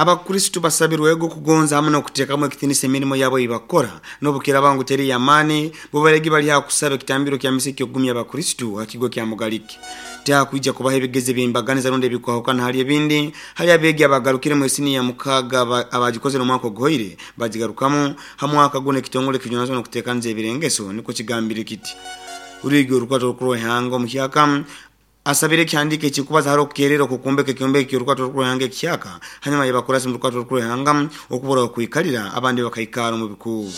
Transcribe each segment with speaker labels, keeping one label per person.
Speaker 1: Abakristo basabirwego kugonza hamwe n'okuteekamu ekitiinisa emirimo yabo ei bakukora n'obukiraaba ngu teri y'amaani. Bo baregi bali ha kusaba ekitambiro kya misa eky'okugumya abakristo ha kigo kya Mugalike. Tihakwija kubaho ebigezo eby'embaganiza rundi ebikwahukana hali ebindi hali abeegi abagarukiremu esiniya ya mukaaga abagikozere omwaka oguhoire bagigarukamu ha mwaka gunu, ekitongole ekijunanizibwa n'okuteekaniza ebirengeso nikwo kigambire kiti. Rwigi orukwato orukuru rw'ihanga omuhyaka asabire ekihandiiko ekikubaza hali okukerera okwokumbeka ekyombeko ky'orukwato orukuru rw'ihanga ekihyaka hanyuma y'abakurasi mu rukwato orukuru rw'ihanga okubura okwikalira, abandi bakaikara omu bikuubo.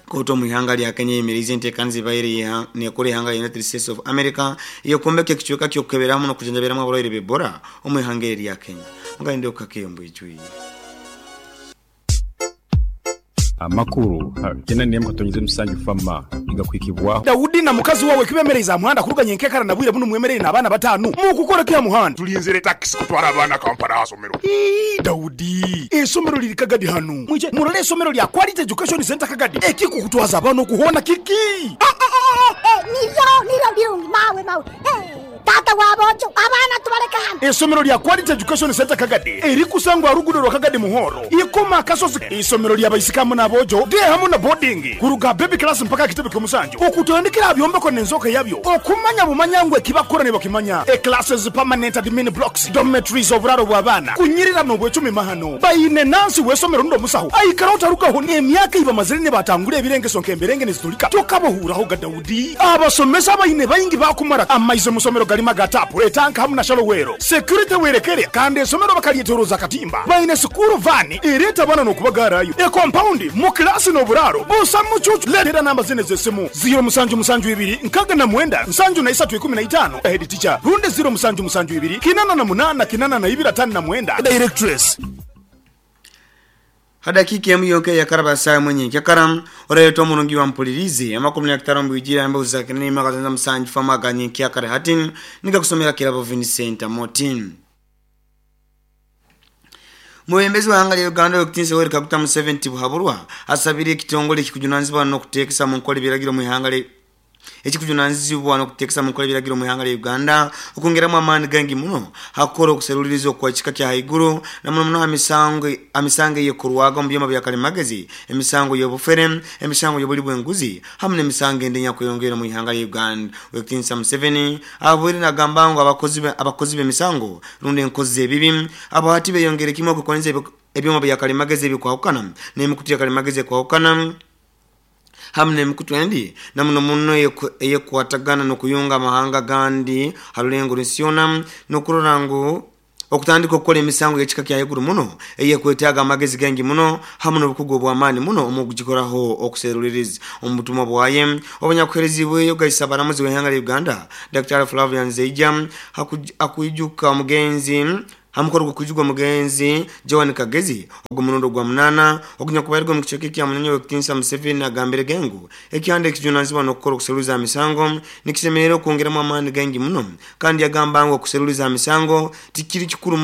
Speaker 1: Kooti omu ihanga lya Kenya eyemeriize enteekaniza ebaire nekora ihanga lya United States of America ey'okwombeka ekicweka ky'okukeberamu n'okujanjabiramu abarwaire b'Ebola omu ihanga eri erya Kenya. Mugende okukake omu bwijwire.
Speaker 2: Amakuru 81.7 Fama nigakuhikibwaho.
Speaker 3: Daudi na mukazi wawe kibemereize aha muhanda kuruga nyenkekara na bwire bunu mwemereire n'abaana bataanu. Mukukora ki aha muhanda?
Speaker 4: Tulinzire takisi kutwara abaana Kampala aha somero.
Speaker 3: Ii, Daudi, esomero liri Kagadi hanu. Mwije murole esomero lya Quality Education Center Kagadi. Ekikukutwaza abaana okuhoona kiki?
Speaker 5: Niryo niryo birungi mawe mawe. Tata w'aboojo, abaana tubaleke hano.
Speaker 3: Esomero lya Quality Education Center Kagadi erikusangwa aha ruguudo rwa Kagadi Muhoro, Ikoma Akasozi. Isomero lya baisiki hamu n'aboojo, day hamu na boarding, kuruga baby class mpaka aha kitebe ky'omusanju. Okutandikira aha byombeko n'enzooka yabyo, okumanya bumanya ngu ekibakukora nibakimanya. E classes, permanent admin blocks, dormitories, oburaaro bw'abaana, kunyirira n'obwecumi mahano. Baine nansi w'esomero rundi omusaho aikara otarugaho. Emyaka ei bamazire nibatangura ebirengeso nk'emberenge nizitulika tokabahuuraho ga Daudi. Abasomesa baine baingi bakumara. Amaizi omu somero garimu aga taapu, etanka hamu na shallow well. Security werekere kandi esomero bakaryetoroza akatimba. Baine school van ereeta abaana n'okubagaarayo. E compound mu kilaasi n'oburaaro busa mucuucu. Leetera namba zinu ez'esimu 0772 69 73 15 head teacher rundi 0772 88 82 59 directress.
Speaker 1: Hadakiika emu yonka eyakaraba saawa emwe nyenkyakara oraletwa omurungi wa mpulirize amakumi n'akataano mbwijire embeho za kinene akazanza musanju famu aga nyenkyakara hati nigakusomera Kirabo Vincent Amotin. Mwebembezi wa ihanga lya Uganda Owekitiinisa Yoweri Kaguta Museveni Tibuhaburwa asabire ekitongole ekikujunanizibwa n'okuteekesa mu nkora ebiragiro mu ihanga ekikujunanizibwa n'okuteekesa mu nkora ebiragiro mu ihanga lya Uganda okwongeramu amaani gaingi muno hakukora okuseruliriza okwa kika kya haiguru na muno muno ha misango eyekorwaga omu byoma bya kalimagezi, emisango y'obufere, emisango y'obuli bw'enguzi hamu n'emisango endi enyakweyongera omu ihanga lya Uganda. Owekitiinisa Museveni abwire nagamba ngu abakozi b'emisango rundi enkozi z'ebibi abo hati beyongere kimwe okukozesa ebyoma bya kalimagezi ebikwahukana n'emikutu ya kalimagezi ekwahukana hamu n'emikutu endi na muno muno eyekwatagana n'okuyunga amahanga gandi ha rulengo rw'ensi yoona n'okurora ngu okutandika okukora emisango y'ekika kya haiguru muno eyekwetaaga amagezi gaingi muno hamu n'obukugu obw'amaani muno omu kugikoraho okuseruliriza. Omu butumwa bwaye obunyakuheerezibweyo gaisa abaramuzi w'ihanga lya Uganda Dr. Flavian Zeija akwijuka omugenzi ha mukoro gw'okwijuka omugenzi Joan Kagezi ogw'omurundi ogwa munaana ogunyakubairwe omu kicweka ekya Munyonyo, Owekitiinisa Museveni agambire ngu ekihanda ekijunanizibwa n'okukora okuseruliza ha misango nikisemerera okwongeramu amaani gaingi muno, kandi yagamba ngu okuseruliza ha misango tikiri kikuru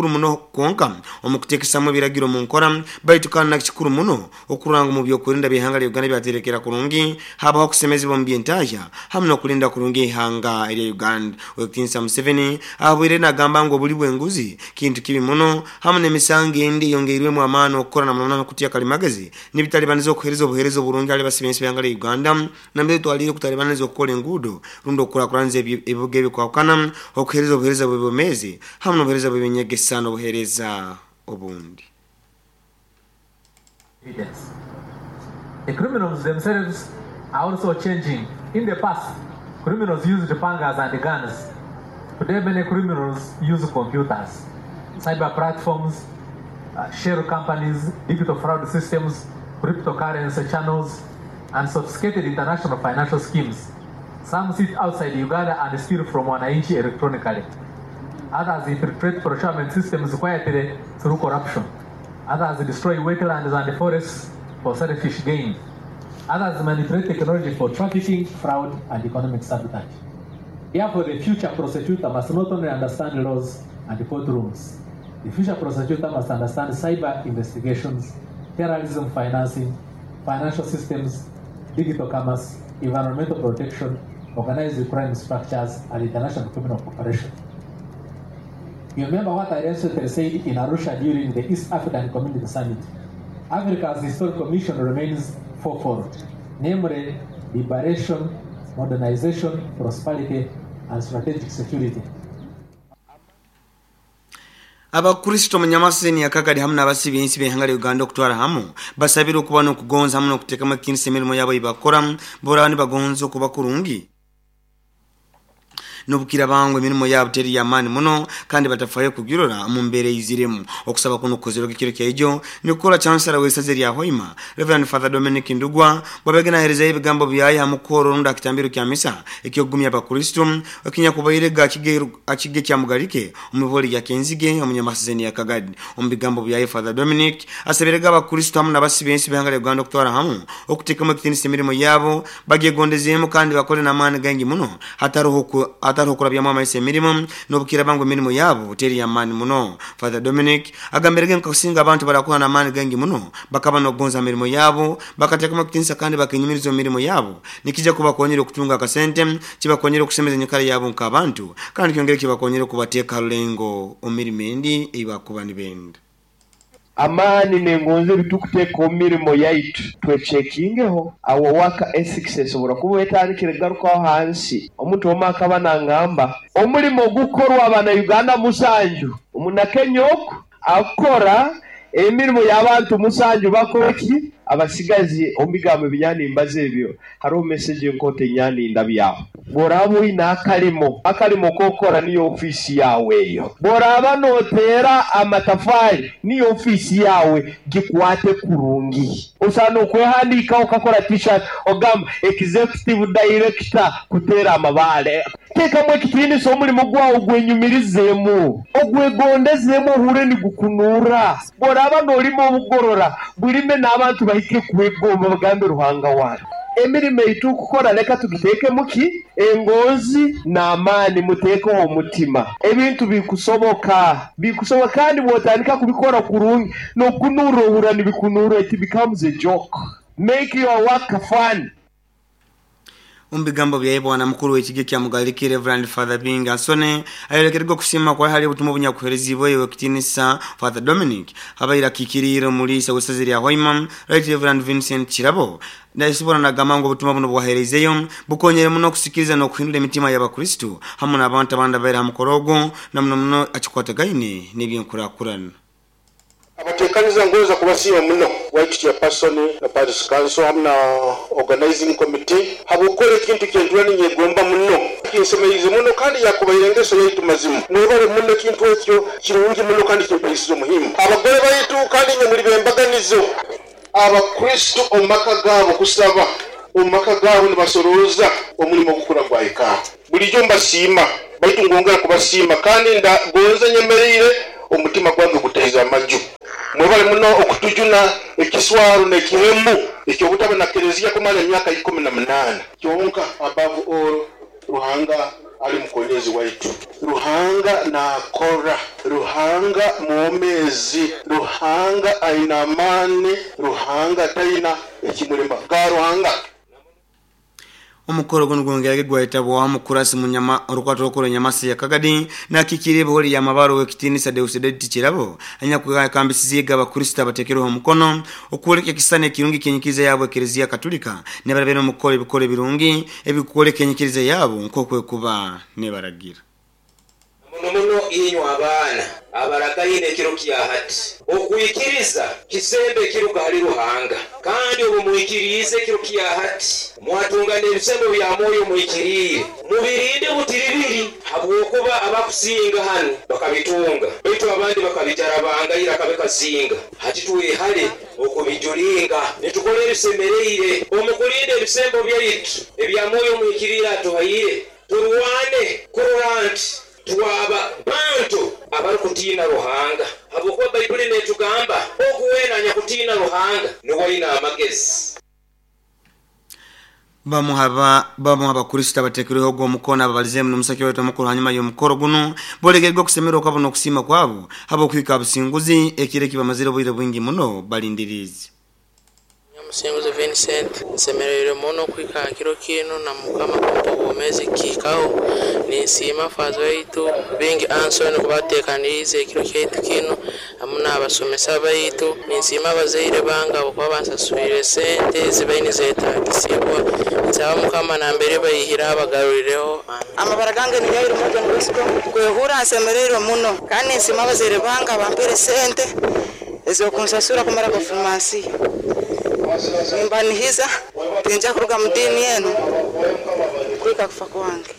Speaker 1: muno kwonka omu kuteekesamu ebiragiro mu nkora, baitu kandi nakikuru muno okurora ngu mu byokwerinda by'ihanga lya Uganda byaterekera kurungi, habaho okusemezebwa omu byentahya hamu n'okulinda kurungi ihanga erya Uganda. Owekitiinisa Museveni abwire nagamba ngu obuli bw'enguzi kintu kibi muno hamu n'emisango endi eyongeirwemu amaani okukora na muno kutya kalimagezi nibitalibaniza okuheereza obuheereza oburungi hali basibensi b'ihanga lya Uganda, nambere twalire okutalibaniza okukora enguudo rundi okukurakuraniza ebibuga ebikwahukana, okuheereza obuheereza bw'ebyomeezi hamu n'obuheereza bw'eby'enyegesa n'obuheereza obundi.
Speaker 6: Evidence. The criminals themselves are also changing. In the past, criminals used pangas and guns. Today, many criminals use computers, cyber platforms, shell companies, digital fraud systems, cryptocurrency channels, and sophisticated international financial schemes. Some sit outside Uganda and steal from Wananchi electronically. Others infiltrate procurement systems quietly through corruption. Others destroy wetlands and forests for selfish gain. Others manipulate technology for trafficking, fraud, and economic sabotage. Therefore, the future prosecutor must not only understand laws and courtrooms. The future prosecutor must understand cyber investigations, terrorism financing, financial systems, digital commerce, environmental protection, organized crime structures, and international criminal cooperation. You remember what I recently said in Arusha during the East African Community Summit. Africa's historical mission remains fourfold, namely liberation, modernization, prosperity, and strategic security.
Speaker 1: Abakristo munyamaseni yakakadi hamwe n'abasibi ensi b'ihanga lya Uganda okutwara hamu basabire okuba n'okugonza hamwe n'okuteekamu ekitinisa emirimo yabo eibakora boraba nibagonza okuba kurungi nobukira bangu emirimo yabo teri yamaani muno kandi batafayo kugirora mu mbeera eiziremu. Okusaba kuno kukozerwa ekiro kyaijo nikukola chancellor w'esaza erya Hoima Reverend Father Dominic Ndugwa bwabege naherezayo ebigambo byaye hamukoro rundi akitambiro kya misa ekyokugumya abakristo ekinyakubairega akige kya Mugarike omuboli ya Kenzige omunyamasizeni ya Kagadi. Omu bigambo byaye Father Dominic asabirega abakristo hamwe n'abasibi ensi b'ihanga lya Uganda okutwara hamu okuteekamu ekitinisa emirimo yabo bagyegondezemu kandi bakole n'amaani gangi muno hatariho kurabyamu amaiso emirimo n'obukira bangu emirimo yabo teri yamaani muno. Father Dominic agambirege nkakusinga abantu barakuha n'amaani gangi muno bakaba n'okugonza emirimo yabo bakateekamu ekitinisa kandi bakenyumiriza emirimo yabo nikija kubakonyera okutunga akasente kibakonyera okusemeza enyikara yabo nk'abantu kandi kyongere kibakonyera okubateeka ha rulengo omu mirimo endi ei bakuba nibenda.
Speaker 7: Amaani nengonze bitukuteeka omu mirimo yaitu twecekingeho awo waka ethics esobora kuba etandikire kugarukaho hansi. Omuntu omwe akaba nangamba omulimo gukorwa abana Uganda 7 omunakenya oku akora emirimo y'abantu 7 bakoreki abasigazi omu bigambo ebinyanimbaza ebyo hariho message enkoto enyaninda byaho. Bworaba oine akalimo kokora niyo ofiisi yawe eyo, bworaba noteera amatafari niyo ofiisi yawe, gikwate kurungi. Osaana okwehandiikaho okakora t-shirt ogamba executive director kuteera amabaale. Teekamu ekitiinisa omulimo gwawe gwenyumirizeemu ogwegondezemu ohure nigukunuura. Bworaba noolima obugorora bulime n'abantu bahike kwegomba bagambe Ruhanga wange. Emirimo eitukukora leka tugiteekemu ki engonzi n'amaani, muteekeho omutima. Ebintu bikusoboka kandi bwotandika kubikora kurungi n'okunuura ohura nibikunuura, it becomes a joke. Make your work fun.
Speaker 1: Omu bigambo byaye bwana mukuru w'ekige kya Mugarike Reverend Father Binga Nsone ayolekerwa okusiima kwa hali obutumwa obunyakuherezibwe ekitinisa Father Dominic abaire akikiriire omuliisa w'esaza erya Hoima Right Reverend Vincent Kirabo nasobora nagamba ngu obutumwa buno bwahereizeyo bukonyere muno okusikiriza n'okuhindura emitima y'abakristo hamwe n'abantu abandi abaire ha mukoro ogwo na muno muno akikwatagaine n'ebyenkurakurana.
Speaker 8: Abatekaniza ngonza kubasiima muno White Chairperson na Parish Council hamwe na organizing committee habwokukora ekintu kyentura ninyegomba muno kinsemerize muno kandi yakubaire engeso yaitu mazimu mwebale muno ekintu ekyo kirungi muno kandi kimpaisize omuhimu abagore baitu kandi nye muri bembaganizo abakristo omu maka gaabo kusaba omu maka gaabo nibasorooza omulimo gukura gwahika bulijjo mbasiima baitu ngongera kubasiima kandi ndagonza nyemereire omutima gwange gutaiza amaju. Mwebale muno okutujuna ekiswaro n'ekihemu ekyobutaba na kereziya kumara emyaka 18 kyonka above all Ruhanga ali mukonyezi waitu. Ruhanga nakora, Ruhanga mwomezi, Ruhanga aina amani, Ruhanga taina ekimulema ga Ruhanga.
Speaker 1: Omukoro guno gwongerage gwahitabwaho mukurasi munyama orukwato rwokora enyamasi ya Kagadi nakikire ebihori ya mabaro w'ekitinisa Deusdedit Kirabo anyakukambisize abakristo abatekereho omukono okwoleka ekisani ekirungi kyenyikiriza yabo ekereziya Katolika nebarabere omukukora ebikoro ebirungi ebikukwoleka enyikiriza yabo nk'okwekuba nebaragira.
Speaker 9: Muno muno inywe abaana abaragaine ekiro kya hati, okwikiriza kisembo ekiruga hali Ruhanga, kandi obu mwikiriize ekiro kya hati mwatunga n'ebisembo bya Mwoyo Muhikiriire, mubirinde butiribiri, habwokuba abakusinga hanu bakabitunga, baitu abandi bakabijarabangaira akabikasinga. Hati twehale okubijulinga, nitukora ebisemereire omu kulinda ebisembo byaitu ebya Mwoyo Muhikiriire atuhaire, turwane kurora nti twaba bantu abarukutiina Ruhanga, habwokuba Baibuli netugamba ogu weena anyakutiina Ruhanga nuwe aina amagezi.
Speaker 1: Bamu abakristo abatekereho ogwo omukono ababalizemu n'omusaki waitu omukuru hanyuma y'omukoro guno bolekerwa okusemererwa kwabo n'okusiima kwabo habw'okuhika businguzi ekiro eki bamazire obwire bwingi muno balindiriize.
Speaker 10: Musinguzi Vincent, nsemereire muno kuhika ha kiro kinu na Mukama kumpa obwomeezi kihikaho. Ninsiima faaza waitu Bingi Anson kuba ateekaniirize ekiro kyaitu kinu hamu n'abasomesa baitu. Ninsiima abazaire bange habwokuba bansaswire sente ezibaire nizeetaagisibwa. Nsaba Mukama nambere baihire abagarulireho.
Speaker 11: Amabara gange ni Yairo Morgan Bosco. Kwehurra nsemereirwe muno kandi ninsiima abazaire bange abampaire sente ez'okunsasura kumara performance. Nimbanihiza tinja kuruga mu diini enu kuhika kufa kwange.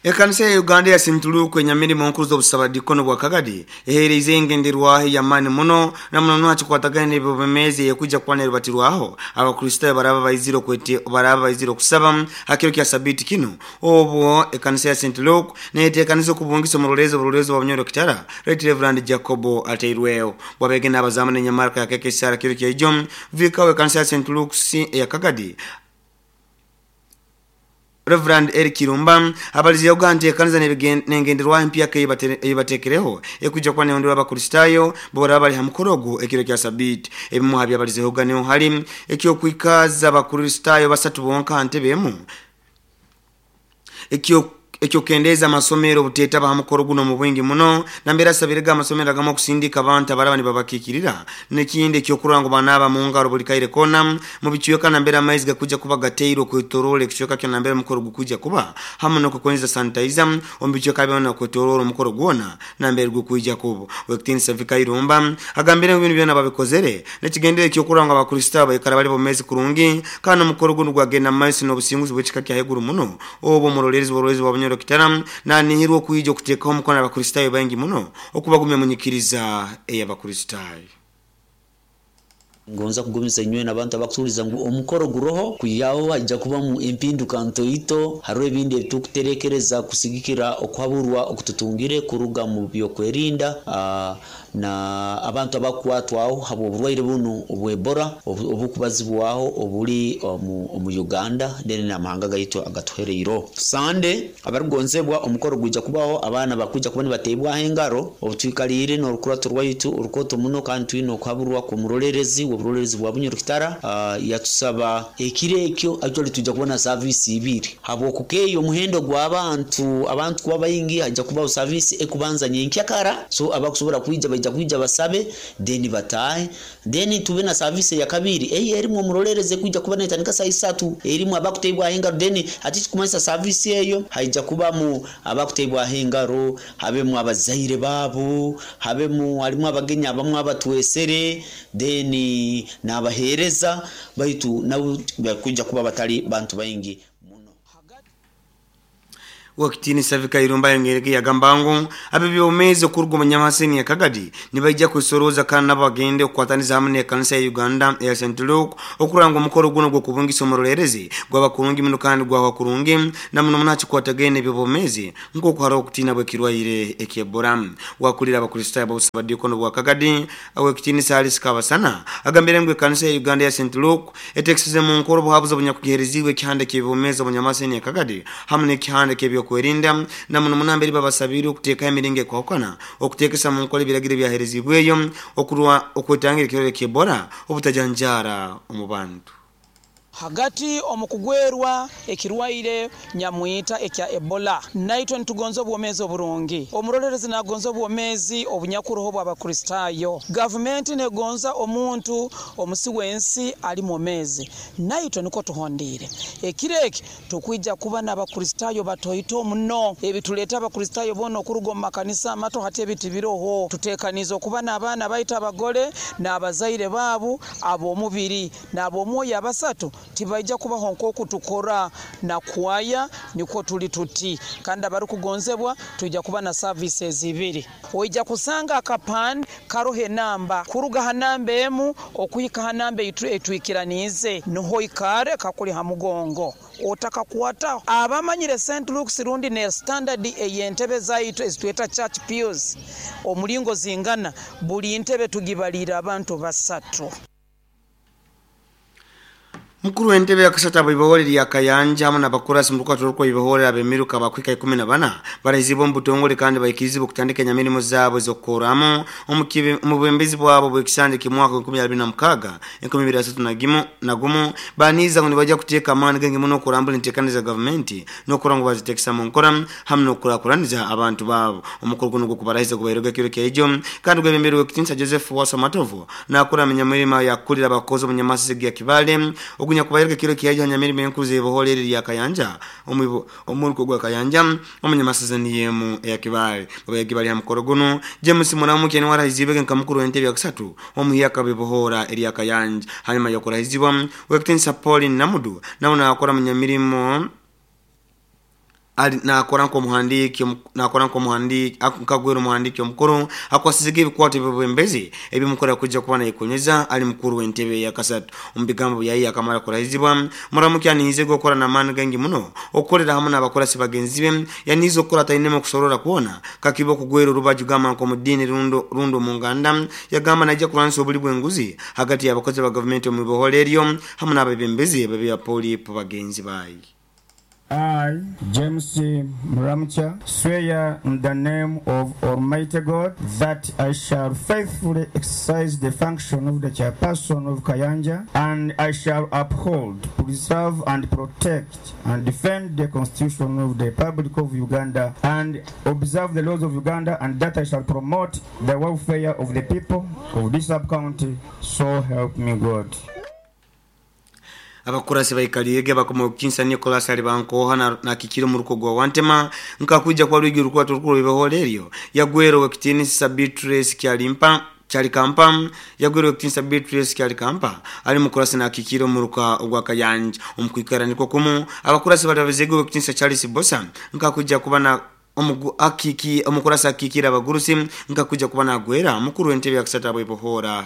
Speaker 1: Ekanisa ya Uganda ya St. Luke enyamirimo nkuru z'obusabadikono bwa Kagadi eheereza engenderwaho ey'amaani muno na muno nwakikwatagana n'ebyobumezi ekujja kuba nerubatirwaho Abakristaayo baraba baizire okwete baraba baizire okusaba hakiro kya sabiti kino. Obwo ekanisa ya St. Luke neteekaniza okubungisa omuroleezi oburoleezi bwa Bunyoro Kitara Right Reverend Jacobo Ateirweho bwabege n'abazamu n'enyamaraka ya KKCR kiro kya ijo vikawo ekanisa ya St. Luke's eya Kagadi Reverend Eric Kirumba abalizi Uganda ekanisa nengenderwaho empyaka eyibatekereho ekujja kuba nehonderwa Abakristaayo bora bali ha mukoro ekiro kya sabiti. Ebimu ha byabalizeho ganiho hali ekyokwikaza Abakristaayo basatu bonka ntebe emu ekyokendeza amasomero obuteetaba ha mukoro guno mu bwingi muno nambere asabirega amasomero agamu okusindika abantu abaraba nibabakikirira n'ekindi ekyokurora ngu banaaba mu ngaro buli kaire kona mu bicweka nambere amaizi gakujja kuba gateirwe okwetoroora ekicweka kyo nambere omukoro gukujja kuba hamu n'okukozesa sanitizer omu bicweka byona okwetoroora omukoro gwona nambere gukwijja kuba. Wekitiinisa Vikairumba agambire ngu binu byona babikozere n'ekigendere ekyokurora ngu Abakristaayo baikara bali bomezi kurungi kandi omukoro guno gwagenda mu maiso n'obusinguzi bw'ekika kya haiguru muno. Obwo omuroleerezi bw'oburoleezi bwa Bunyoro Kitara nanihirwa okwijja okuteekaho omukono Abakristaayo baingi muno okubagumya mu nyikiriza ey'Abakristaayo.
Speaker 12: Ngonza kugumiza inywe n'abantu abakutuliza ngu omukoro guroho kuyaho hajja kubamu empinduka ntoito hariho ebindi ebitukuterekereza kusigikira okuhaburwa okututungire kuruga mu byokwerinda na abantu abakwatwaho habw'oburwaire bunu obw'Ebola obukubazibwaho obuli omu Uganda then n'amahanga gaitu agatuhereiro. Sande abarugonzebwa omukoro gwijja kubaho abaana bakwijja kuba nibateebwaho engaro obutwikaliire n'orukurato rwaitu orukoto muno kandi twine okuhaburwa kw'omuroleerezi oburoleerezi bwa Bunyoro Kitara yatusaba ekiro ekyo actually tujja kubona service ibiri habwokukeeyo omuhendo gw'abantu abantu kuba baingi hajja kubaho service ekubanza nyenkyakara so abakusobora kwija baija kwija basabe then batahe then tube na service ya kabiri eyi erimu omuroleerezi kwijja kuba netandika saa isatu erimu abakuteebwaho engaro then ati kikumanyisa service eyo haija kubamu abakuteebwaho engaro habemu abazaire baabo habemu harimu abagenyi abamu abatwesere then n'abaheereza baitu nabo bakwija kuba batali bantu baingi.
Speaker 1: Wakitiinisa Vikairumba yongerege yagamba ngu abebyomezi okuruga omu Nyamaseni ya Kagadi nibaija kwesorooza kandi nabo bagende okukwataniza hamwe n'ekanisa ya Uganda eya St. Luke okurora ngu omukoro guno gw'okubungisa omuroleerezi gwaba kurungi muno kandi gwahwa kurungi na muno muno hakikwatagaine n'ebyobwomeezi nk'oku hariho okutiina bw'ekirwaire eky'Ebola. Wakulira Abakristaayo b'obusabadikono bwa Kagadi Owekitiinisa Alice Kabasana agambire ngu ekanisa ya Uganda ya St. Luke etekesize mu nkora obuhabuzi obunyakugihereziibwe ekihanda ky'ebyobwomeezi omu Nyamaseni ya Kagadi hamu n'ekihanda ky'ebyokwerinda na muno muno mbere babasabire okuteekaho emiringo ekwahukana okuteekesa mu nkola ebiragiro ebyahereziibweyo okurwa okwetangira ekirwaire ky'Ebola obutajanjaara omu bantu.
Speaker 13: Hagati omu kugwerwa ekirwaire nyamwita ekya Ebola naitwe nitugonza obwomeezi oburungi. Omurolerezi nagonza obwomeezi obunyakuroho bw'Abakristaayo. Gavumenti negonza omuntu omusi w'ensi ali mwomeezi, naitwe niko tuhondiire. Ekiro eki tukwija kuba n'Abakristaayo batoito muno. Ebituleeta Abakristaayo boona okuruga omu makanisa amato hati ebitibiroho. Tuteekaniize okuba n'abaana baitu abagole n'abazaire baabo ab'omubiri n'ab'omwoyo abasatu tibaija kubaho nk'oku tukora na kwaya nikwo tuli tuti. Kandi abarukugonzebwa twija kuba na services ibiri. Oija kusanga akapande karoho enamba kuruga ha namba emu okuhika ha namba etwikiraniize niho ikare kakuli ha mugongo otakakwataho. Abamanyire St. Luke's rundi ne standard ey'entebe zaitu ezitweta church pews omulingo zingana buli ntebe tugibalira abantu basatu.
Speaker 1: Mukuru w'entebe yakasatu abaibahore lya Kayanja hamwe n'abakurasi mu rukwata rw'ibahore abemiruka bakwika 14 barahizibwa mu butongole kandi bayikirizibwa kutandika emirimo zabo z'okukoramu omu bwembezi bwabo bw'ekisanja kimwaka 2026 2031 baniza ngo nibajya kuteeka amaani gange muno okurambula enteekaniza za gavumenti n'okura ngu bazitekesa mu nkora hamwe n'okukurakuraniza abantu baabo. Omukoro guno gw'okubarahiza gubairega ekiro kyaijo kandi gwebemberwe Kitinsa Joseph Wasamatovu nakura minyamirima yakulira abakozi omu Nyamasisi ya Kibale ogunya kubayereka kiro kiyaja nyamirima enkuze boholere ya Kayanja omuruko gwa Kayanja omunyamasazani yemu ya Kibale babayagi bali hamukoro guno James Munamuke ni warahizibwe nka mukuru w'entebe ya kusatu omuyaka bibohora eri ya Kayanja. Hanyuma yokurahizibwa Wekitinsa Pauline Namudu nawe nakora munyamirimo ali nakora nko muhandiki akagwero muhandiki omukuru akwasizige ebikwato ebyobwembezi ebimukora kujja kuba nayikonyeza ali mukuru w'entebe ya kasatu. Omubigambo byayi akamara kurahizibwa Muramuke anihize gukora n'amaani gangi muno okukorera hamwe n'abakorasi bagenzi be yanize okukora atainemu okusorora kuona kakiba okugwera orubaju gamba nko mu ddiini rundo mu nganda yagamba najja kulwanisa obuli bw'enguzi hagati y'abakozi ba gavumenti omu bibohoro eryo hamwe n'abebembezi b'ebyapolipo bagenzi bayi.
Speaker 14: I, James Muramucha, swear in the name of Almighty God that I shall faithfully exercise the function of the chairperson of Kayanja, and I shall uphold, preserve, and protect and defend the Constitution of the Republic of Uganda and observe the laws of Uganda, and that I shall promote the welfare of the people of this sub-county. So help me God.
Speaker 1: Abakurasi baikaliege bakoma Kinsa Nicholas alibankoha na kikiro muruko gwa Wantema nkakuja kwa lwigi rukwata rukuru biboholeryo yagwero Wekitinisa Beatrice Kyalimpa Kyalikampa yagwero Wekitinisa Beatrice Kyalikampa ali mukurasi na kikiro muruka ogwa Kayanja. Omukwikara niko kumu abakurasi batabezege Wekitinisa Charles Bosa nkakuja kuba na omukurasi akikira abagurusi nkakuja kuba nagwera mukuru w'entebe ya kusatu abwebohora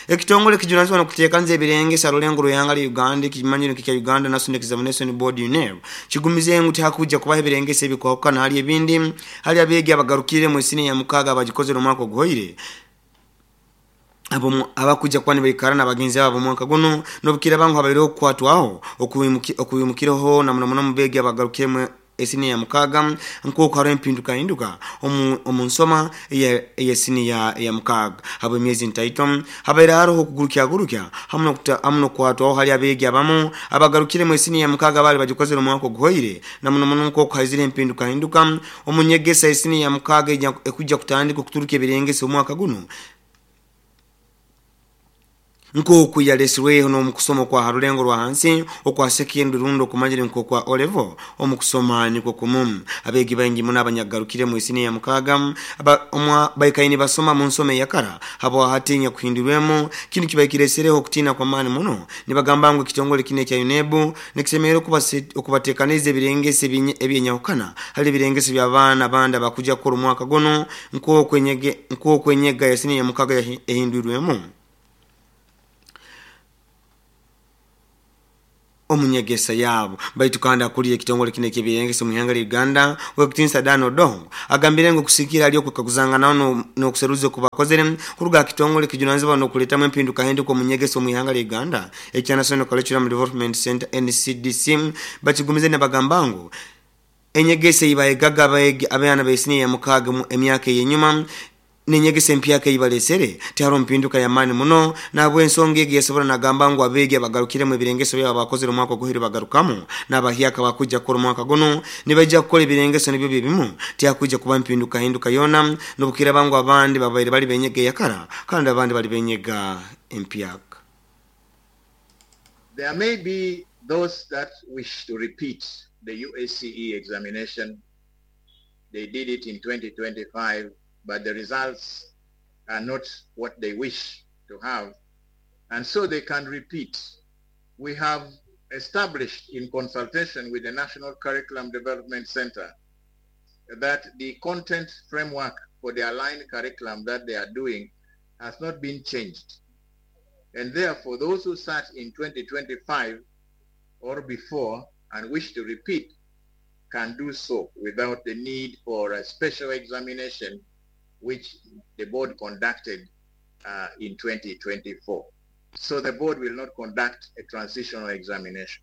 Speaker 1: ekitongole kijunanizibwa n'okuteekanza ebirenge sarulengo ruyanga lya Uganda kimanyiro kya Uganda National Examination Board UNEB kigumize ngu tihakuja kubaho ebirengesa ebikwahukana hali ebindi hali abeegi abagarukire mu siniya ya mukaaga abagikozere omwaka oguhoire abakuja kwani baikara n'abagenzi babo mwaka guno n'obukira bangu habaire okukwatwaho okuyimukireho na muno muno mu beegi abagarukire mu esiniya ya mukaaga nk'oku hariho empinduka hinduka omu nsoma ey'esiniya ya mukaaga habwa emyezi ntaito habaire hariho okugurukyagurukya hamwe n'okukwatwaho hali abeegi abamu abagarukire mu esiniya ya mukaaga baali bagikozere omwaka oguhoire na muno muno nk'oku haizire empinduka hinduka omu nyegesa esiniya ya mukaaga ekujja kutandika okuturuka ebirengesa omwaka guno nk'oku yalesirweho n'omukusoma kwa harulengo rwa hansi okwa secondary rundo okumanyire nk'okwa O level omukusoma nikwo kumu. Abeegi baingi muno abanyagarukire mu isiniya ya mukaaga baikaine basoma mu nsoma eyakara habwa hatinya kuhindurwemu kinu kibaikiresereho okutiina kw'amaani muno nibagamba ngu ekitongole kino ekya UNEB nikisemerera okubateekaniza ebirengesa ebyenyahukana hali ebirengesa by'abaana abandi abakuja kukora omwaka guno nk'oku enyega ya siniya ya mukaaga ehindurwemu omunyegesa yabo. Baitu kandi akulira ekitongole kino eky'ebirengesa mu ihanga lya Uganda Wekitinsa Dan Odongo agambire ngu kusikira ali okwekaguzanganaho n'okuseruza okubakozere kuruga kitongole kijunanizibwa n'okuleetamu empinduka hinduka omunyegesa omu ihanga lya Uganda ekya National Curriculum Development Center NCDC bakigumize nibagamba ngu enyegesa eibayegaga abaana b'esiniya ya mukaaga emyaka ey'enyuma nenyegesa empyaka eibalesere tihariho mpinduka y'amaani muno nabw'ensonga egi yasobora nagamba ngu abeegi abagarukiremu ebirengeso byabo bakozere omwaka oguhire bagarukamu n'abahyaka bakujja kukora omwaka guno nibaija kukora ebirengeso nibyo byebimu tihakuija kuba mpinduka hinduka yoona n'obukiraba ngu abandi babaire bali benyega eyakara kandi abandi bali benyega empyaka.
Speaker 15: There may be those that wish to repeat the UACE examination. They did it in 2025, but the results are not what they wish to have, and so they can repeat. We have established in consultation with the National Curriculum Development Center that the content framework for the aligned curriculum that they are doing has not been changed. And therefore, those who sat in 2025 or before and wish to repeat can do so without the need for a special examination which the board conducted in 2024. So the board will not conduct a transitional examination.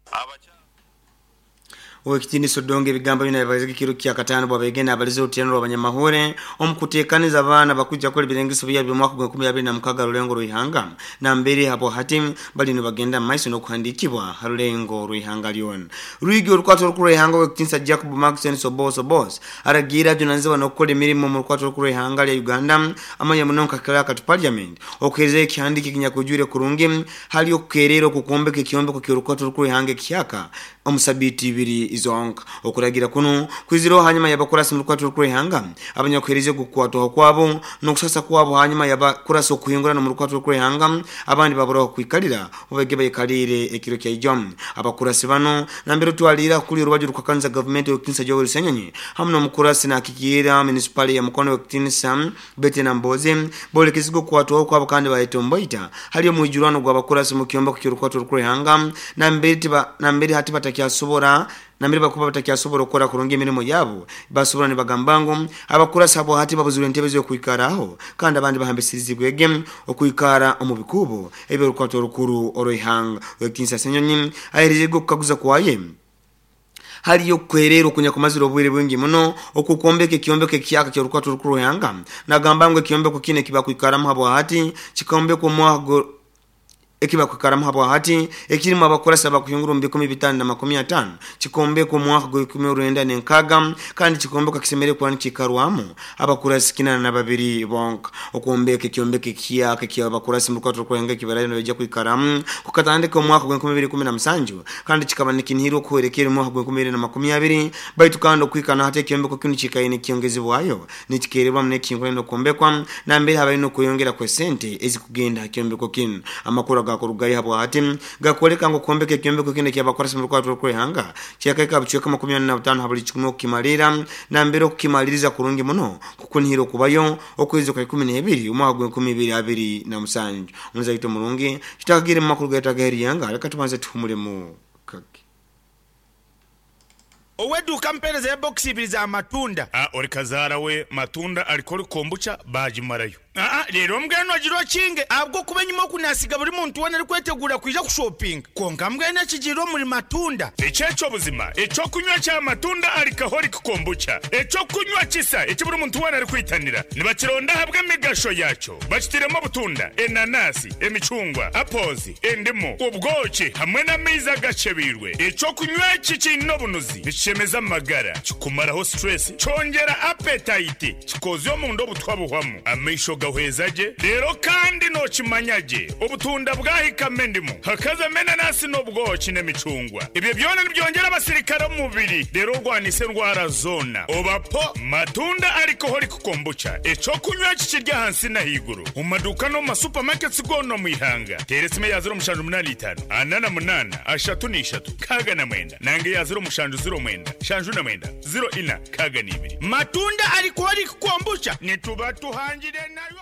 Speaker 1: Owekitiinisa Odongo ebigambo bino yabibalize ekiro kya katano bwabegenda abalize oruterano rw'abanyamahore omukuteekaniza abaana bakujja kukora ebirengeso byabo by'omwaka gwa 2026 rulengo rw'ihanga nambere habo hati bali nibagenda mu maiso n'okuhandiikibwa ha rulengo rw'ihanga lyona. Rwigi orukwato orukuru rw'ihanga owekitiinisa Jacob Maxen Sobos Obos aragiire ajunanizibwa n'okukora emirimo omu rukwato orukuru rw'ihanga lya Uganda amanya muno nka clerk to parliament okuheereza ekihandiiko ekinyakujwire kurungi hali okukeerera okukwombeka ekyombeko ky'orukwato orukuru rw'ihanga ekihyaka omu sabiiti ibiri zonka. Okuragira kuno kwizireho hanyuma y'abakurasi mu rukwato orukuru rw'ihanga abanyakuheereza okukwatwaho kwabo n'okusasa kwabo hanyuma y'abakurasi okuhingurana mu rukwato orukuru rw'ihanga abandi baburaho kwikalira obage baikaliire ekiro kya ijo. Abakurasi bano nambere otwalira kuli orubaju rukwakanisa gavumenti owekitiinisa Joel Ssenyonyi hamu n'omukurasi nakikiira munisipali ya Mukono owekitiinisa Betty Nambooze bolekezibwa okukwatwaho kwabo kandi bayetomboita hali omwijurano gw'abakurasi mu kyombeko ky'orukwato orukuru rw'ihanga nambere hati batakyasobora nambere bakuba batakyasobora okukora kurungi emirimo yabo. Basobora nibagamba ngu abakurasi abo hati babuzirwe entebe z'okwikaraho kandi abandi bahambisirizibwege okwikara omu bikubo eby'orukwato orukuru orw'ihanga. Owekitiinisa Ssenyonyi aheerezebwe okukaguza kwaye haliyo okukwerera okunyakumazire obwire bwingi muno okukwombeka ekyombeko ekihyaka ky'orukwato orukuru rw'ihanga. Nagamba ngu ekyombeko kinu ekibakwikaramu habwa hati kikombekwa omwaka ekibakwikaramu habwa hati ekirimu abakurasi abakuhingura omu 550 kikombekwa omwaka gwa 1960 kandi kikombekwa kisemeriire kuba nikiikarwamu abakurasi 82 bonka. Okwombeka ekyombeko ekihyaka eky'abakurasi mu rukwato rw'ihanga ekibarayo nibaija kwikaramu kukatandika omwaka gwa 2017 kandi kikaba nikinihirwa okuhwerekera omwaka gwa 2020 baitu kandi okuhika na hati ekyombeko kinu kikaire nikyongezebwayo nikikeererwamu n'ekihingura n'okwombekwa nambere habaire n'okweyongera kw'esente ezikugenda ha kyombeko kinu. Amakuru agakurugayo habwa hati gakwoleka ngu okwombeka ekyombeko kinu ekyabakurasi mu rukwato orukuru rw'ihanga kyakaika bucweka 45 ha buli kikumi okukimalira nambere okukimaliriza kurungi muno kukunihira okubayo okwezi kwa 12 omwaka gwa 2027. Omuzaito omurungi tutakagire mu makuru gaitu ag'erihanga leka tubanze tuhumulemu kake.
Speaker 16: Ow'eduuka mpeereza ya bokisi ibiri za matunda.
Speaker 3: A Ori kazaara we matunda alcoholic kombucha baagimarayo. Aa Reero mbwenu ogira okinge
Speaker 16: ahabw'okuba enyima oku naasiga buri muntu weena arikweteguura kwija kushopinga. Kwonka mbwenu ekigiire omuri matunda.
Speaker 3: Eki eky'obuzima, eky'okunywa kya matunda alcoholic kombucha, eky'okunywa kisa eki buri muntu weena arikwitanira. Nibakironda ahabw'emigasho yaakyo. Bakitairemu obutunda, enanasi, emicungwa, apples, endimu, obwoki hamwe n'amaizi agakyebeirwe. Eky'okunywa eki kiine obunuzi, nikishemeza amagara, kikumaraho stress, kyongyera appetite, kikoozya omunda obutwa buhwamu, amaisho gahweza gye, reero kandi nookimanya gye obutunda bwahikamu endimu, hakazamu enanasi n'obwoki n'emicungwa. Ebyo byona nibyongyera abasirikare omu mubiri reero orwanise endwara zoona. Oba po Matunda Alcoholic Kombucha, eky'okunywa eki kiri ahansi n'ahaiguru omu maduuka n'omu ma supermarkets goona omu ihanga. Teera esimu eya 0785 48 33 69 nanga eya 0709 79 04 62.
Speaker 16: Matunda Alcoholic Kombucha nituba tuhangire nayo.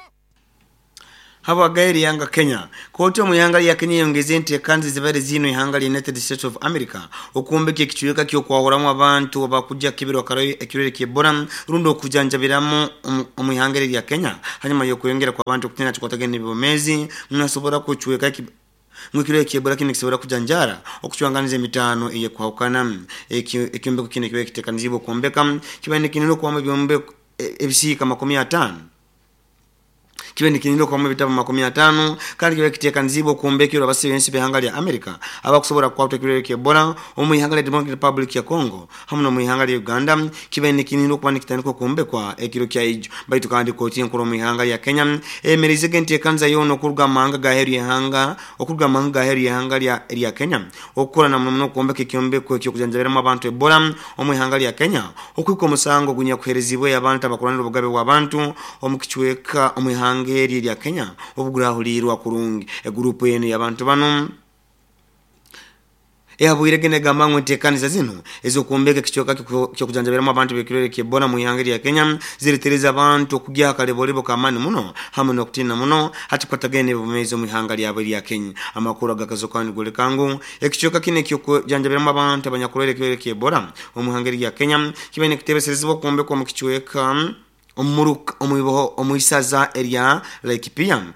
Speaker 1: Habwagaire ihanga Kenya. Kooti omu ihanga lya Kenya eyongeze enteekaniza ezibaire ziinwe ihanga lya United States of America okwombeka ekicweka ky'okwahuramu abantu abakujja kukebera ekirwaire ky'Ebola rundi okujanjabiramu omu ihanga eri erya Kenya hanyuma y'okweyongera kw'abantu okutiina kikwatagaine n'ebyomeezi ngu kucweka ngu ekirwaire ky'Ebola kinu nikisobora kujanjaara okucwanganiza emitaano ey'ekwahukana. Ekyombeko kinu ekibaire kiteekaniziibwe okwombeka kibaire nikinihirwa okubamu ebyombeko ebisiika 50 kibaire nikinihirwa okubamu ebitabu 50 kandi kibaire kiteekaniziibwe okwombekerwa abasebensi b'ihanga lya America abakusobora kukwatwa ekirwaire ky'Ebola omu ihanga lya Democratic Republic ya Congo hamu n'omu ihanga lya Uganda. Kibaire nikinihirwa okuba nikitandika okwombekwa ekiro kya ijo. Baitu kandi kooti enkuru omu ihanga lya Kenya eyemereizege enteekaniza yoona okuruga mu mahanga g'aheeru y'ihanga okuruga mu mahanga g'aheeru y'ihanga lya Kenya okukora na muno muno okwombeka ekyombeko eky'okujanjabiramu abantu Ebola omu ihanga lya Kenya okuhika omusango ogunyakuheerezibweyo abantu abakurwanira obugabe bw'abantu omu kicweka omu ihanga eri erya Kenya obugurahuliirwa kurungi. Eguruupu enu y'abantu banu ehabwirege negamba ngu enteekaniza zinu ez'okwombeka ekicweka ky'okujanjabiramu abantu b'ekirwaire ky'Ebola mu ihanga erya Kenya ziretereza abantu okugyaho akalebolebo k'amaani muno hamu n'okutiina muno hati kukwatagaine n'ebyobumeezi omu ihanga lyabo erya Kenya. Amakuru agakazokaho nigoleka ngu ekicweka kinu eky'okujanjabiramu abantu abanyakurwaire ekirwaire ky'Ebola omu ihanga erya Kenya kibaire nikitebeserezibwa okwombekwa omu kicweka omu isaza erya Laikipia.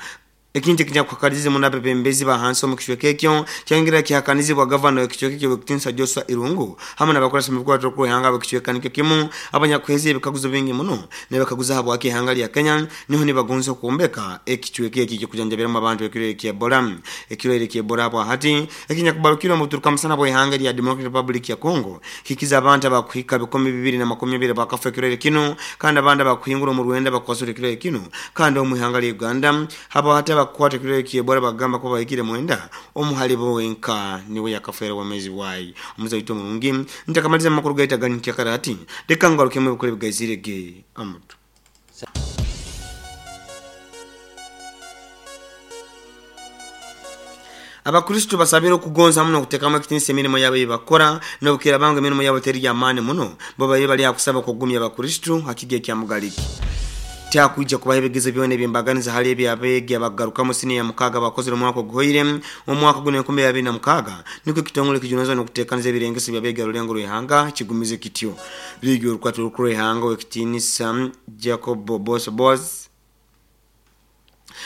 Speaker 1: Ekintu ekinyakuhakanizize muno abebembezi ba hansi omu kicweka ekyo kyongera kihakanizibwa gavana w'ekicweka ekyo Ow'ekitiinisa Joshua Irungu hamu n'abakurasi mu bikwatwa okwehanga ab'ekicweka nikyo kimu abanyakuheza ebikaguzo bingi muno nibakaguza habwaki ihanga lya Kenya niho nibagonza okwombeka ekicweka eki ekyokujanjabiramu abantu ekirwaire kya Ebola. Ekirwaire kya Ebola bwa hati ekinyakubarukire omu buturuka musana bw'ihanga lya Democratic Republic ya Congo kikiza abantu abakuhika 220 bakafa ekirwaire kinu kandi abandi abakuhingura omu Rwanda bakwasura ekirwaire kinu kandi omu ihanga lya Uganda haba hati abakukwata ekirwaire kya Ebola bagamba kuba bahikire 9 omu halibo wenka niwe yakafeera obwomeezi bwayi. Omuze waitu omurungi ntakamaliza amakuru gaitu aganyikyakara hati leka ngarukemu ebikuru ebigaizire ge amutu. Abakristo basabire okugonza muno okutekamu ekitinisa emirimo yabo eyibakora nobukiraaba ngu emirimo yabo teri y'amaani muno bo babaire bali ha kusaba okugumya Abakristo ha kigo ekya Mugaliki. Tihakwija kubaho ebigezo byona eby'embaganiza hali eby'abeegi abakugarukamu siniya ya mukaaga abakozere omwaka oguhoire omu mwaka gunu 2026, nukwo ekitongole ekijunanizibwa n'okuteekaniza ebirengeso by'abeegi ha rulengo rw'ihanga kigumize kityo. Liigi y'orukwata orukuru rw'ihanga Ow'ekitiinisa Jacob Boso Boaz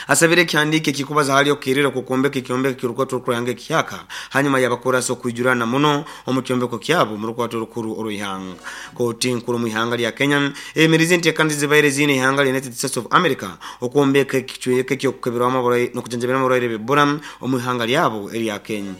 Speaker 1: asabire ekihandiiko ekikubaza hali okukererwa kw'okwombeka ekyombeko ky'orukwato orukuru rw'ihanga ekihyaka hanyuma y'abakurasi okwijurana muno omu kyombeko kyabo omu rukwato orukuru orw'ihanga. Kooti enkuru omu ihanga lya Kenya eyemerize enteekaniza ezibaire ziine ihanga lya United States of America okwombeka ekicweka eky'okukeberwamu n'okujanjabiramu abarwaire b'Ebola omu ihanga lyabo erya Kenya.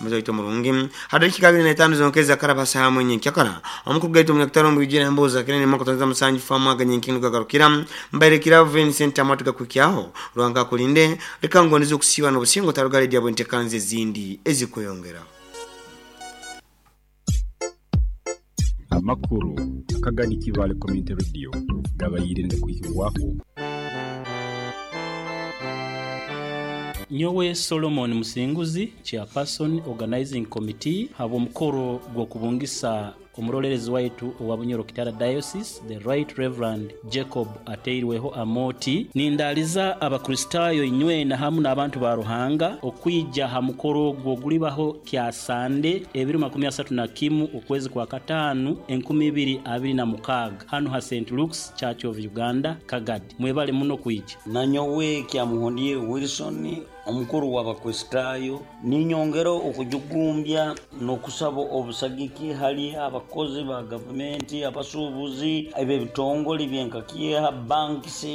Speaker 1: Omuze waitu omurungi, ha dakiika 25 zonka ezakaraba ha saaha emwe nyenkyakara, omukuru gaitu omunyakatara omu bwijwire emboozi za Kinene mwaka twanza musanju famu aga nyenkindu gagarukira mbaire kirabo Vincent Amatu gakuhikyaho. Ruhanga akulinde, leka ngondeze okusiiba n'obusinge otaruga hali edyabo enteekaniza ezindi ezikweyongeraho.
Speaker 2: Amakuru akagani Kibaale Community Radio gabaire nigakuhikibwaho.
Speaker 17: Nyowe Solomon Musinguzi, Chairperson Organizing Committee habw'omukoro gw'okubungisa omurolerezi waitu owa Bunyoro Kitara Diocese, The Right Rev. Jacob Ateirweho Amooti. Nindaaliza Abakristaayo inywena hamu n'abantu ba Ruhanga okwija ha mukoro ogwo ogulibaho Kyasande ebiro 31 okwezi kwa Kataanu 2026 hanu ha Saint Luke's Church of Uganda, Kagadi. Mwebale muno kwija.
Speaker 18: Nanyowe Kyamuhundire Wilson, omukuru w'Abakristaayo, ninyongera okujugumbya n'okusaba obusagiki hali abakozi ba gavumenti, abasuubuzi, ab'ebitongole byenka Kieha, banks,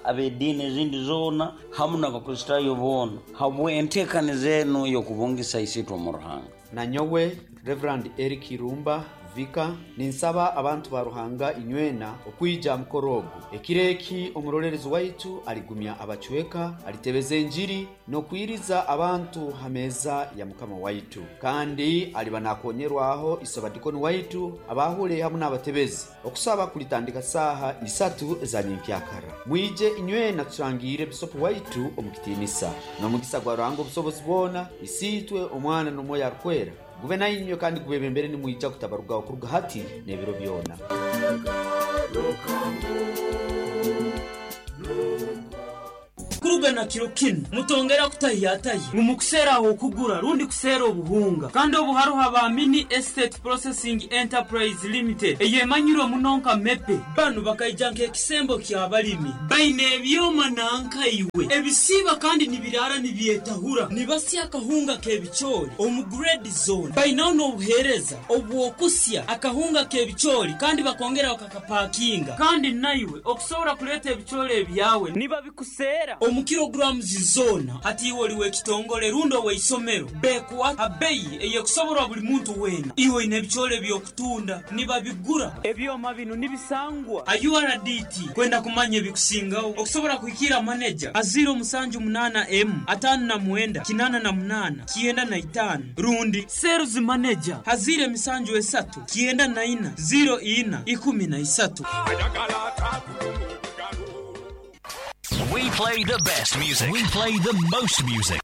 Speaker 18: ab'ediini ezindi zoona hamu n'Abakristaayo boona habw'enteekaniza enu ey'okubungisa Isiitwe omu Ruhanga.
Speaker 19: Nanyowe Rev. Eric Irumba, Vicar, ninsaba abantu ba Ruhanga inywena okwija aha mukoro ogu. Ekiro eki omurolerezi waitu aligumya abacweka, alitebeza enjiri n'okwiriza abantu ha meeza ya Mukama waitu. Kandi aliba nakonyerwaho isobadikoni waitu, abahule hamu n'abatebezi. Okusaba kulitandika saaha isatu eza nyenkyakara. Mwije inywena turangiire Bisopu waitu omu kitiinisa. N'omugisa gwa Ruhanga obusobozi bwona, Isiitwe, Omwana n'Omwoyo Arukwera, gube nainywe kandi gubebembere nimwija kutabarugaho kuruga hati n'ebiro byona.
Speaker 20: Kuruga na kiro kinu, mutongera kutahiyatahya ngu mukuseera ah'okugura rundi kuseera obuhunga. Kandi obu haroho aba Mini Estate Processing Enterprise Limited eyemanyirwe muno nka MEPE. Banu bakaija nk'ekisembo ky'abalimi. Baine ebyoma nanka iwe ebisiiba kandi nibiraara nibyetahura nibasya akahunga k'ebicoori omu grade zoona. Bainaho n'obuheereza obw'okusya akahunga k'ebicoori kandi bakongera bakakapakinga. Kandi naiwe okusobora kuleeta ebicoori ebyawe nibabikuseera omu kilograms zoona. Hati iwe oli w'ekitongole rundi ow'eisomero, bekuha ha beyi ey'ekusoborwa buli muntu weena. Iwe oine ebicoori eby'okutunda, nibabigura. Ebyoma binu nibisangwa ha URDT. Kwenda kumanya ebikusingaho, okusobora kuhikiira maneja ha 078 emu 59 88 95 rundi Sales Manager ha 073 94 04 13.
Speaker 21: We play the best music. We play the most music.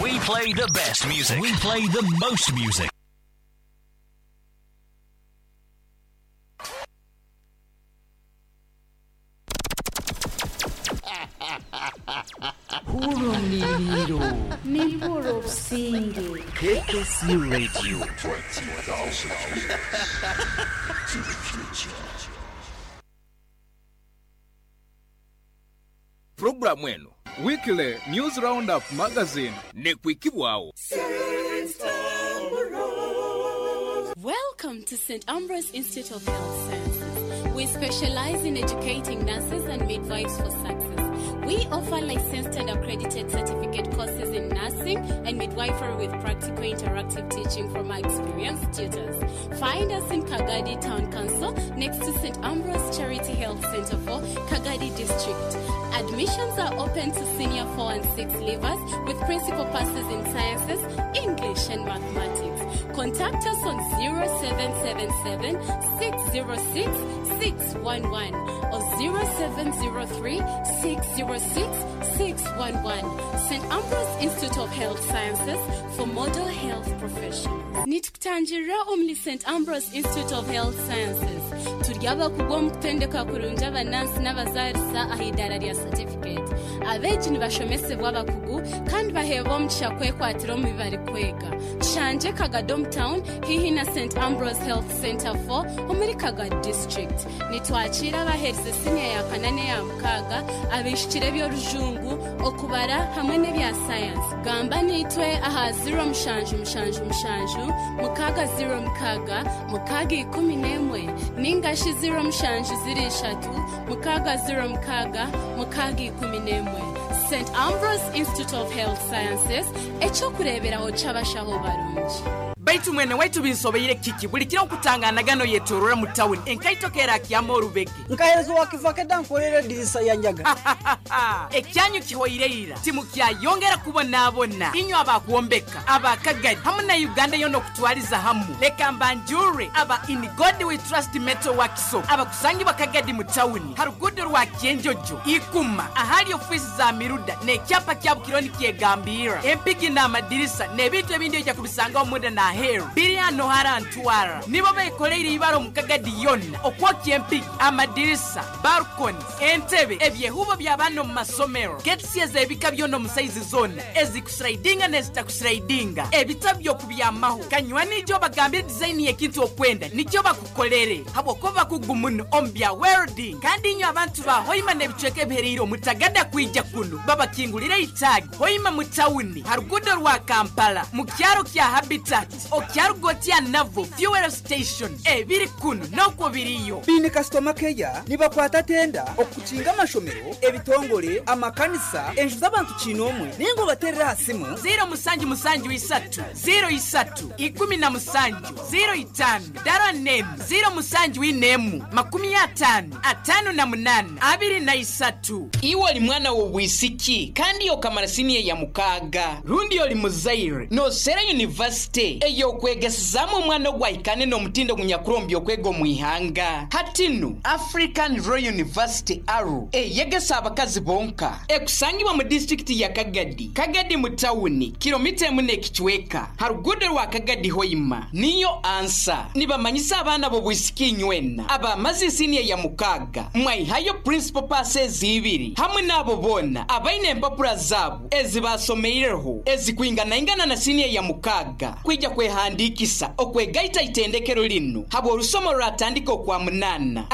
Speaker 21: We play the best music. We play the most music.
Speaker 22: Hurra omu
Speaker 23: Nimpurra obusinge.
Speaker 22: KKC Radio.
Speaker 4: 20,000 years to the future.
Speaker 5: Puroguramu eno
Speaker 6: Weekly News Roundup Magazine
Speaker 5: n'ekwikibwagho.
Speaker 7: Welcome to St. Ambrose Institute of Health Sciences. We specialize in educating nurses and midwives for success. We offer licensed and accredited certificate courses in nursing and midwifery with practical interactive teaching from our experienced tutors. Find us in Kagadi Town Council next to St. Ambrose Charity Health Center for Kagadi District. Admissions are open to senior 4 and 6 leavers with principal passes in sciences, English and mathematics. Contact us on 0777 606 611 or 0703 606 611. St. Ambrose Institute of Health Sciences for model health professionals. Nitukutangira omuli St. Ambrose Institute of Health Sciences. Turi abakugu omu kutendeka kurungi abanansi n'abazaarisa aha idaara rya certificate. Abeegi nibashomesebwa abakugu kandi baheebwa omugisha kwekwatira omu bi barikwega. Tushangye Kagadi omu town haihi na St. Ambrose Health Center 4 omuri Kagadi District. Nitwakiira abaherize siniya ya kana n'eya mukaaga, abaishikire eby'orujungu, okubara hamwe n'ebya sayansi. Gamba naitwe aha 0777 606 611 ningashi 0703 606 611. St. Ambrose Institute of Health Sciences, ekyokureeberaho ky'abashaho barungi.
Speaker 24: Baitu mwene waitu binsobeire kiki buli kiro nkutangana gano yetorora mu town enkaito kerakyama orubege.
Speaker 25: Nkahereza wakivakeda nkorera edirisa ya nyaga.
Speaker 24: Ekyanyu kihoireira timukyayongera kubonaabona inywe abakwombeka abakagadi hamu na Uganda yona okutwaliza hamu. Leka mbanjure aba In God We Trust Metal Workshop abakusangibwa Kagadi mu town harugudo rwa Kyenjojo Ikuma ahali ofisi za Miruda n'ekyapa kya Bukironi kyegambira empigi n'amadirisa n'ebintu ebindi ojja kubisangaho munda na aheeru biri hano harantwara nibo bekoleire ibara omu Kagadi yonna okwokya empigi, amadirisa, balconies, entebe, ebyehubo by'abaana omu masomero, getsi ez'ebika byona omu saizi zona ezikuslidinga n'ezitakuslidinga, ebitabo by'okubyamaho. Kanywani ijo bagambire design y'ekintu okwenda nikyo bakukolere habwokuba bakugu muno omu bya welding. Kandi inywe abantu ba Hoima n'ebicweka ebihereire omutagada kwija kunu babakingulire itaagi Hoima mu tawuni harugudo rwa Kampala mu kyaro kya Habitat okyarugotya navo fuel station ebiri kunu n'okwo biriyo.
Speaker 25: Biine kasitoma keya nibakwata tenda okukinga amashomero, ebitongole, amakanisa, enju z'abantu kinomwe ningo baterera aha simu
Speaker 24: 0773 03 17 05 dara nemu 07 4 50 58 23. Iwe oli mwana w'obwisiki kandi okamara siniya ya mukaaga rundi oli muzaire nosera university ey'okwegesezamu omwana ogwahikane n'omutindo gunyakurombya okwega omu ihanga. Hatinu African Royal University Aru eyegesa abakazi bonka ekusangibwa mu disitulikiti ya Kagadi, Kagadi mu tawuni kilomita emu n'ekicweka harugudo rwa Kagadi Hoima niyo ansa. Nibamanyisa abaana b'obwisiki inywena abamaze siniya ya mukaaga mwaihayo principal passes ibiri hamwe n'abo boona abaine empapura zaabo ezibasomeireho ezikwinganaingana na siniya ya mukaaga kwija kwehandikisa okwegaita itendekero lino habwa orusomo rwatandika okwa munana.